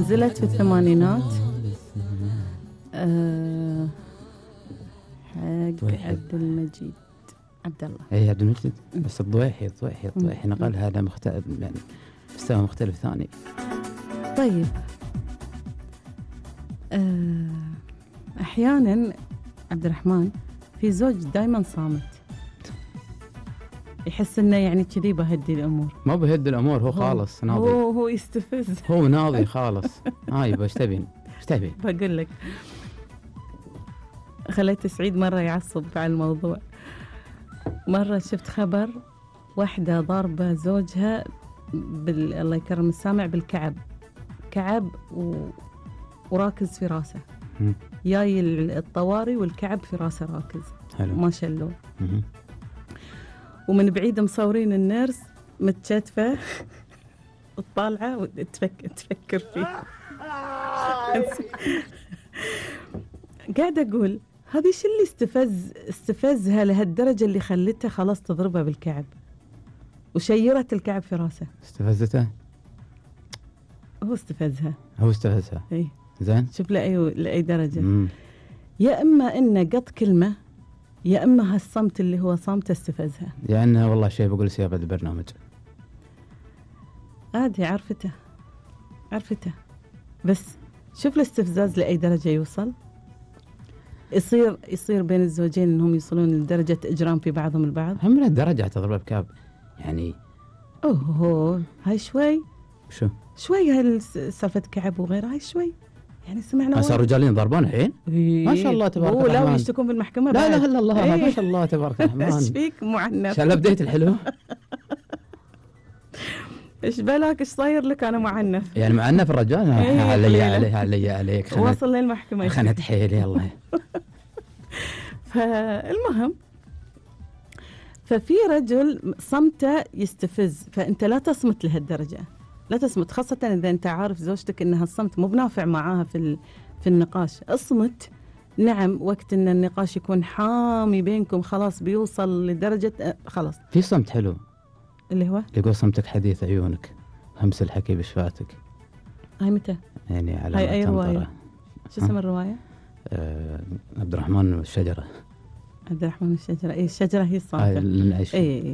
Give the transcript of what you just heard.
نزلت في الثمانينات حق عبد المجيد عبد الله. اي عبد المجيد، بس الضويحي نقل هذا مختلف، يعني مستوى مختلف ثاني. طيب احيانا عبد الرحمن في زوج دائما صامت، يحس انه يعني كذي بهدي الامور. ما بهدي الامور، هو خالص ناضي، هو يستفز، هو ناضي خالص. يبا ايش تبين؟ بقول لك خليت سعيد مرة يعصب على الموضوع. مرة شفت خبر واحدة ضاربة زوجها الله يكرم السامع كعب وراكز في راسه، جاي الطواري والكعب في راسه راكز. حلو. ما شلوه. ومن بعيد مصورين النيرس متشتفة وطالعة وتفكر فيه. قاعدة أقول هذه شو اللي استفزها لهالدرجة اللي خلتها خلاص تضربها بالكعب وشيرت الكعب في راسه. استفزته؟ هو استفزها. اي زين. شوف لأي درجة. يا إما إنه قط كلمة، يا إما هالصمت اللي هو صمت استفزها. يعني والله شيء بقول سيابة البرنامج عادي، عرفته بس شوف الاستفزاز لأي درجة يوصل. يصير بين الزوجين انهم يوصلون لدرجة اجرام في بعضهم البعض. هم من الدرجة تضرب بكاب يعني. هاي شوي هاي سالفة كعب وغيرها، هاي شوي يعني سمعنا. صار رجالين ضربون الحين. ما شاء الله تبارك الرحمن. لا ويشتكون بالمحكمة. لا اله الا الله. ما شاء الله تبارك الرحمن. ايش فيك معنف؟ شال بديت الحلو. ايش بالك ايش صاير لك؟ انا معنف يعني معنف الرجال. عليك وصل للمحكمة. خنت حيلي يلا. فالمهم ففي رجل صمته يستفز، فأنت لا تصمت لهالدرجة، لا تصمت، خاصة إذا أنت عارف زوجتك إنها الصمت مو بنافع معاها في النقاش. اصمت نعم وقت إن النقاش يكون حامي بينكم، خلاص بيوصل لدرجة خلاص. في صمت حلو اللي هو يقول صمتك حديث عيونك، همس الحكي بشفاتك. هاي متى؟ يعني على هاي أي رواية؟ شو اسم الرواية؟ عبد الرحمن والشجرة. الشجرة. الشجرة هي الصامتة.